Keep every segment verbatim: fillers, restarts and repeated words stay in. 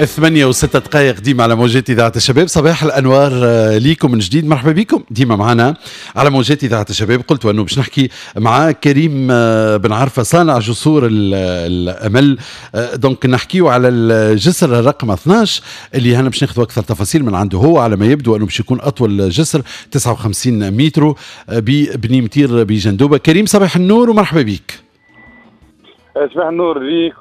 ثمانية وستة دقائق ديما على موجات إذاعة الشباب. صباح الأنوار ليكم من جديد، مرحبا بكم ديما معنا على موجات إذاعة الشباب. قلت أنه باش نحكي مع كريم بن عرفة صانع جسور الأمل، donc نحكيو على الجسر الرقم اثناش اللي هنا باش ناخذ أكثر تفاصيل من عنده هو. على ما يبدو أنه باش يكون أطول جسر تسعة وخمسين متر ببني متير بجندوبة. كريم صباح النور ومرحبا بك. صباح النور ليك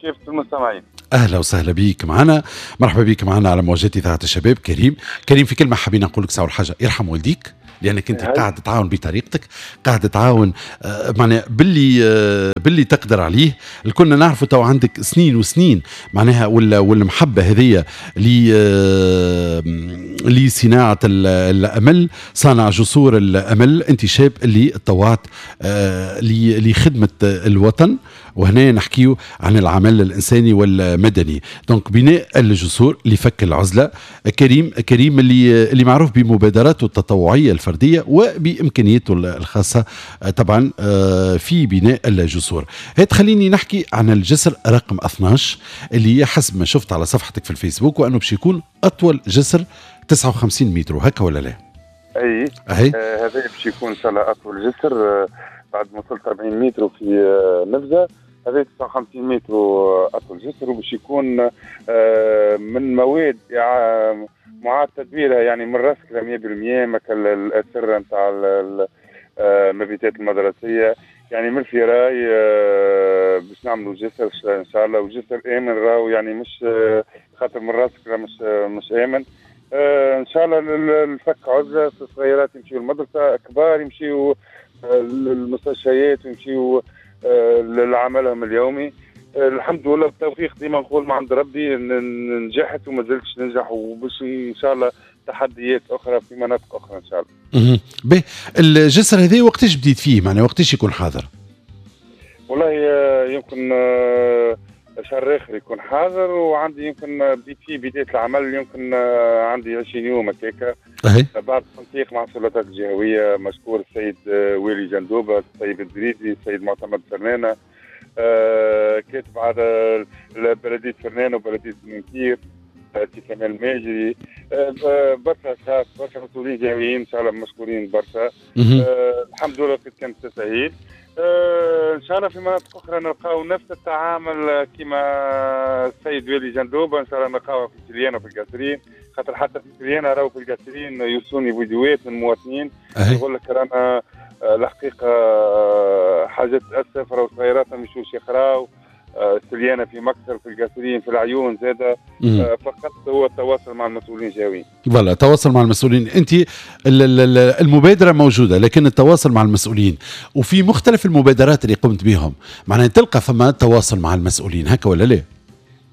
كيف المستمعين. اهلا وسهلا بيك معنا، مرحبا بيك معنا على موجات اذاعة الشباب. كريم، كريم في كلمة حابين نقول لك ساعة حاجة، يرحم والديك لانك انت قاعد تعاون بطريقتك، قاعد تعاون آه معناها باللي آه باللي تقدر عليه. الكلنا نعرفوا تو عندك سنين وسنين معناها ولا والمحبة هذيا آه لصناعة الامل، صانع جسور الامل. انت شاب اللي تطوعت آه لخدمة الوطن، وهنا نحكيو عن العمل الانساني والمدني، donc بناء الجسور لفك العزلة. كريم كريم اللي اللي معروف بمبادراته التطوعية الفردية وبامكانياته الخاصة طبعا في بناء الجسور. هات خليني نحكي عن الجسر رقم اثناش اللي حسب ما شفت على صفحتك في الفيسبوك وانه باش يكون اطول جسر تسعة وخمسين متر، هكا ولا لا؟ اي اي آه هذا باش يكون ان شاء الله اطول جسر آه بعد ما وصلت أربعين متر في آه نفزه. هذا تسعة وخمسين متر اطول جسر، وباش يكون من مواد معاد تدويرها، يعني من راسك مية بالمية مثل الاسرة نتاع المبيتات المدرسية، يعني من ال ferraille باش نعملوا جسر ان شاء الله، وجسر امن راهو، يعني مش خاطر من راسك مش مش امن. ان شاء الله الفك عزله، الصغيرات يمشيوا المدرسة، كبار يمشيوا للمستشفيات ويمشيوا لعملهم اليومي. الحمد لله بالتوفيق ديما نقول مع عند ربي نجحت وما زلتش ننجح، وباش ان شاء الله تحديات اخرى في مناطق اخرى ان شاء الله. باهي، الجسر هذا وقتاش بديت فيه؟ معناها وقتاش يكون حاضر؟ والله يمكن شهر اخر يكون حاضر، وعندي يمكن بديت فيه بداية العمل يمكن عندي عشرين يوم هكاكا. بعد التنسيق مع السلطات الجهوية، مشكور السيد والي جندوبه، السيد الدريدي، السيد معتمد فرنانه، آه كاتب على بلديه فرنانه وبلديه منكير، سي كمال الماجري، آه برشا اشخاص، برشا مسؤولين جهويين ان شاء الله مشكورين برشا. آه الحمد لله كانت تسهيل. آه ان شاء الله في مناطق اخرى نلقاو نفس التعامل كما السيد والي جندوبه، ان شاء الله نلقاوها في سليانه وفي القصرين، خاطر حتى في سليانه راهو في القصرين يوصلوني فيديوهات من مواطنين يقول لك رانا الحقيقة حاجات تاسف، راهو صغيرات ما يمشوش يقراو. سليانه في مكسر، في القصرين، في العيون زاده. فقط هو التواصل مع المسؤولين الجهويين. voilà، التواصل مع المسؤولين. انت المبادرة موجودة، لكن التواصل مع المسؤولين وفي مختلف المبادرات اللي قمت بهم معناها تلقى فما تواصل مع المسؤولين، هكا ولا لا؟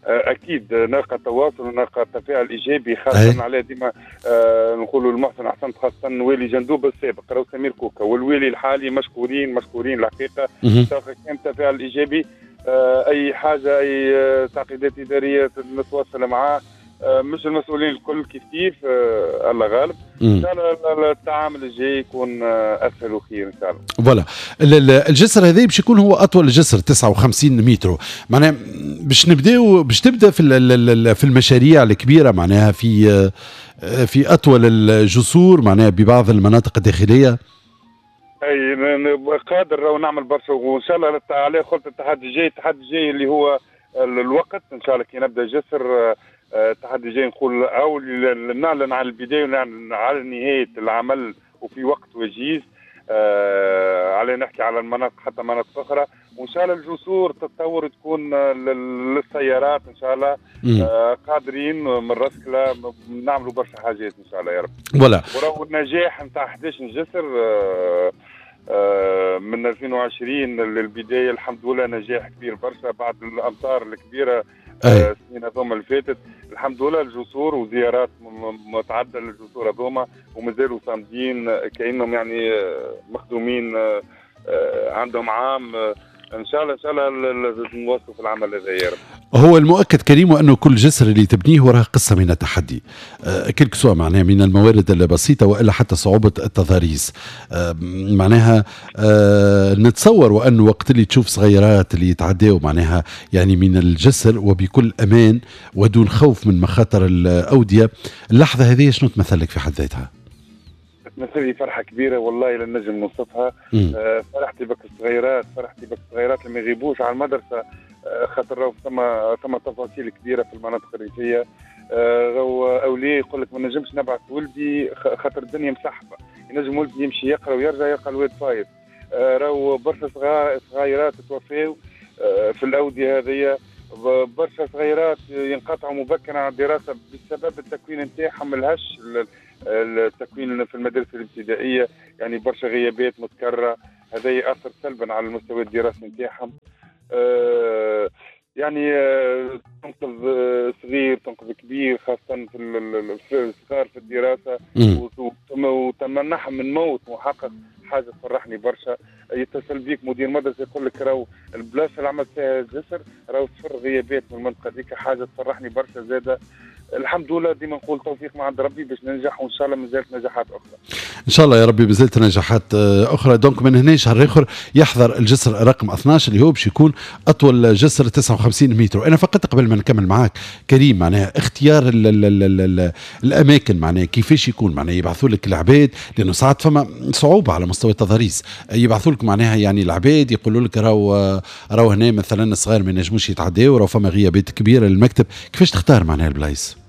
اكيد نلقى تواصل ونلقى تفاعل ايجابي، خاصة على ديما آه نقولوا المحسن احسنت، خاصة والي جندوبه السابق راهو سمير كوكا والوالي الحالي مشكورين مشكورين الحقيقة. كان تفاعل ايجابي، آه اي حاجة، اي تعقيدات ادارية نتواصل معاه، آه مش المسؤولين الكل كيف كيف، آه الله غالب. ان شاء الله التعامل الجاي يكون اسهل وخير ان شاء الله. voilà، الجسر هذا باش يكون هو اطول جسر تسعة وخمسين متر، معناها باش نبداو باش تبدا في في المشاريع الكبيرة، معناها في في اطول الجسور معناها ببعض المناطق الداخلية. اي قادر ونعمل برشا، وان شاء الله عليه خلط التحدي الجاي، التحدي الجاي اللي هو الوقت ان شاء الله كي نبدا جسر التحدي الجاي نقول او نعلن على البداية ونعلن على نهاية العمل وفي وقت وجيز. آه على نحكي على المناطق حتى مناطق اخرى، وان شاء الله الجسور تتطور تكون للسيارات ان شاء الله. آه قادرين من رسكله نعملوا برشا حاجات ان شاء الله يا رب. voilà، وراهو النجاح نتاع احداش جسر آه آه من ألفين وعشرين للبداية الحمد لله نجاح كبير برشا بعد الامطار الكبيرة السنين هذوما اللي فاتت. الحمد لله الجسور وزيارات متعددة للجسور هذوما ومازالوا صامدين كانهم يعني مخدومين عندهم عام. ان شاء الله ان شاء الله نواصلوا في العمل هذا يا رب. هو المؤكد كريم انه كل جسر اللي تبنيه وراه قصة من التحدي، أه quel que soit معناها من الموارد البسيطة والا حتى صعوبة التضاريس، أه معناها أه نتصور وانه وقت اللي تشوف صغيرات اللي يتعداوا معناها يعني من الجسر وبكل امان ودون خوف من مخاطر الاودية، اللحظة هذه شنو تمثل لك في حد ذاتها؟ تمثل لي فرحه كبيرة والله لا نجم نوصفها. آه فرحتي بك الصغيرات، فرحتي بك الصغيرات اللي ما يغيبوش على المدرسة، آه خاطر راهو ثم ثم تفاصيل كبيرة في المناطق الريفية. آه راهو اولياء يقول لك ما نجمش نبعث ولدي خاطر الدنيا مسحبه، ينجم ولدي يمشي يقرا ويرجع يلقى الواد فايض. آه راهو برشا صغيرات توفاو آه في الاودية هذيا، برشا صغيرات ينقطعوا مبكرا عن الدراسة بسبب التكوين نتاعهم الهش، التكوين في المدارس الابتدائية، يعني برشا غيابات متكررة، هذا ياثر سلبا على المستوى الدراسي نتاعهم. آه يعني آه تنقذ صغير تنقذ كبير، خاصة في الصغار في الدراسة، وتمنحهم من موت محقق، حاجة تفرحني برشا. يتصل بيك مدير مدرسه يقول لك راهو البلاصة اللي عملت فيها الجسر راهو صفر غيابات من المنطقة ديك، حاجة تفرحني برشا زاده. الحمد لله ديما نقول توفيق من عند ربي باش ننجح، وان شاء الله مازالت نجاحات اخرى. ان شاء الله يا ربي مازالت نجاحات اخرى. donc من هنا شهر اخر يحضر الجسر رقم اثناش اللي هو باش يكون اطول جسر تسعة وخمسين متر. انا فقط قبل ما نكمل معاك كريم، معناها اختيار ال ال ال ال الاماكن معناها كيفاش يكون، معناها يبعثوا لك العباد لانه ساعات فما صعوبة على مستوى التضاريس، يبعثوا لك معناها يعني العباد يقولوا لك راهو راهو هنا مثلا الصغار ما ينجموش يتعداو، راهو فما غيابات كبيرة للمكتب، كيفاش تختار معناها البلايص؟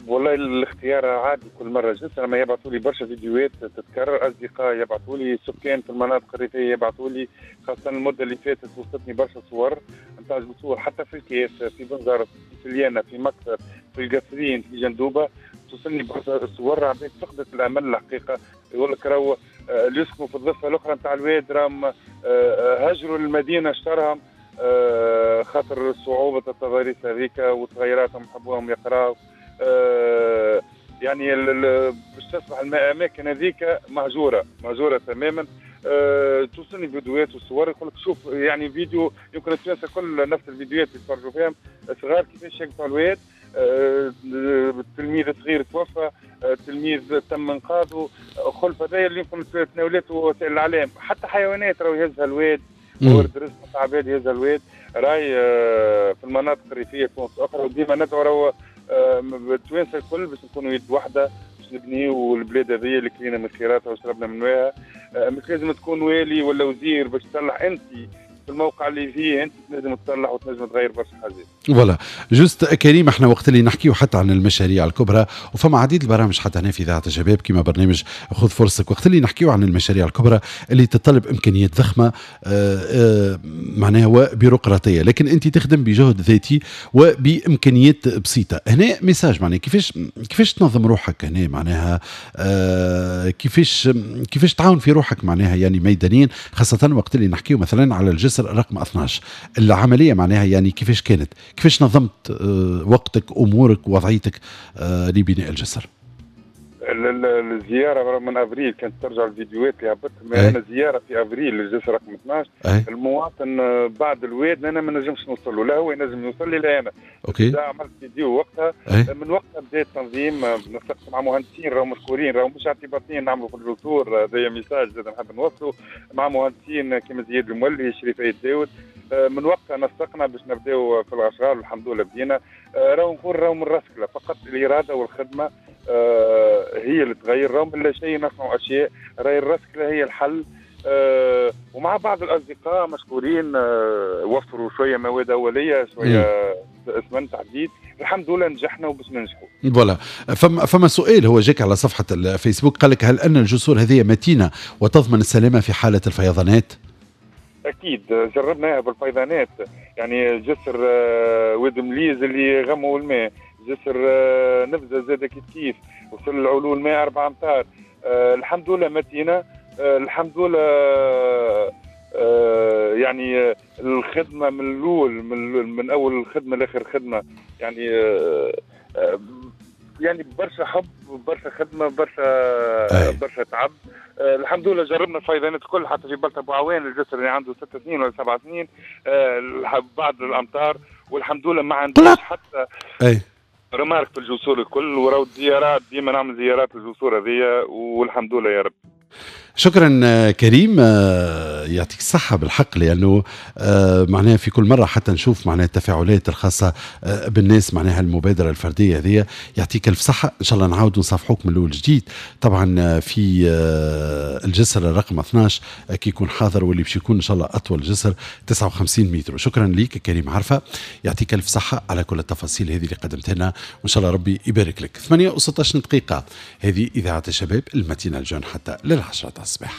والله الاختيار عادي كل مرة جسر، ما يبعثوا لي برشا فيديوهات تتكرر، اصدقاء يبعثوا لي، سكان في المناطق الريفية يبعثوا لي، خاصة المدة اللي فاتت وصلتني برشا صور نتاع جسور حتى في الكاف، في بنزرت، في سليانه، في مكتب، في القصرين، في جندوبه، توصلني برشا صور عباد فقدت الامل الحقيقة، يقول لك راهو اللي يسكنوا في الضفة الاخرى نتاع الواد راهم هاجروا للمدينة اشترهم خاطر صعوبة التضاريس هذيك وصغيراتهم حبوهم يقراوا. آه يعني باش تصبح الاماكن هذيك مهجورة مهجورة تماما. آه توصلني فيديوهات وصور يقول لك شوف، يعني فيديو يمكن التوانسة كل نفس الفيديوهات اللي يتفرجوا فيهم صغار كيفاش يقطعوا الواد، آه التلميذ صغير توفى، آه تلميذ تم انقاذه، خلف هذايا اللي يمكن تناولته وسائل الاعلام، حتى حيوانات راهو يهزها الواد، ورد رزق نتاع عباد يهزها الواد، راي آه في المناطق الريفية تونس اخرى. وديما ندعو راهو التوانسة الكل باش نكونوا يد واحدة باش نبنيو البلاد هذه اللي كلينا من خيراتها وشربنا من ماها. مش لازم تكون والي ولا وزير باش تصلح، انت في الموقع اللي فيه انت تنجم تصلح وتنجم تغير برشا حاجات. voilà juste كريم، احنا وقت اللي نحكيو حتى عن المشاريع الكبرى وفما عديد البرامج حتى هنا في اذاعة الشباب كما برنامج خذ فرصتك، وقت اللي نحكيو عن المشاريع الكبرى اللي تتطلب امكانيات ضخمة معناها وبيروقراطيه، لكن انت تخدم بجهد ذاتي وبامكانيات بسيطة. هنا message معناها كيفاش كيفاش تنظم روحك هنا معناها كيفاش كيفاش تعاون في روحك معناها يعني ميدانيا، خاصة وقت اللي نحكيو مثلا على الجسر رقم اثناش، العملية معناها يعني كيفاش كانت، كيفاش نظمت وقتك امورك وضعيتك لبناء الجسر؟ الزيارة من افريل كانت ترجع الفيديوهات اللي هبطت، انا زيارة في افريل للجسر رقم اثناش. أي. المواطن بعد الواد انا ما نجمش نوصل له، لا هو ينجم يوصل لي لا انا. OK. عملت فيديو وقتها. أي. من وقتها بدا التنظيم، نسقت مع مهندسين راهو مشكورين، راهو مش اعتباطيين نعملوا في الجسور، هذايا message زاد نحب نوصله مع مهندسين كيما زياد المولي، شريف عيد داود. من وقتها نسقنا باش نبداو في الاشغال والحمد لله بدينا. راهو نقول راهو من راسكله فقط الارادة والخدمة هي اللي تغير، راهو من لا شيء نصنع اشياء، راهي الرسكله هي الحل. ومع بعض الاصدقاء مشكورين وفروا شوية مواد اوليه، شوية اسمنت تحديد، الحمد لله نجحنا وباش ننجحوا. voilà. فما فما سؤال هو جاك على صفحة الفيسبوك، قال لك هل ان الجسور هذه متينة وتضمن السلامة في حاله الفيضانات؟ اكيد جربناها بالفيضانات، يعني جسر واد مليز اللي غموا الماء، جسر نفزه زاد كيف كيف وصل العلو الماء أربعة أمتار. أه الحمد لله متينة، أه الحمد لله. أه يعني الخدمة من الاول من, من اول الخدمة لاخر خدمة، يعني أه يعني برشا حب، برشا خدمه، برشا برشا تعب. آه الحمد لله جربنا الفيضانات الكل، حتى في بلطة بوعوان الجسر اللي عنده ست سنين ولا سبع سنين آه بعد الامطار، والحمد لله ما عندناش حتى أي. remarque في الجسور الكل. وراو الزيارات ديما نعمل زيارات للجسور هذيا، والحمد لله يا رب. شكرا كريم، يعطيك الصحة بالحق، لأنه معناها في كل مرة حتى نشوف معناها التفاعلات الخاصة بالناس، معناها المبادرة الفردية هذه. يعطيك ألف صحة، إن شاء الله نعاود نصافحوك من الأول جديد طبعا في الجسر الرقم اثناش كي يكون حاضر، واللي باش يكون إن شاء الله أطول جسر تسعة وخمسين متر. شكرا ليك كريم عرفة، يعطيك ألف صحة على كل التفاصيل هذه اللي قدمتها لنا، وإن شاء الله ربي يبارك لك. ثمانية وستاش دقيقة، هذه إذاعة الشباب، ال matinale jeune حتى للعشرة الصباح.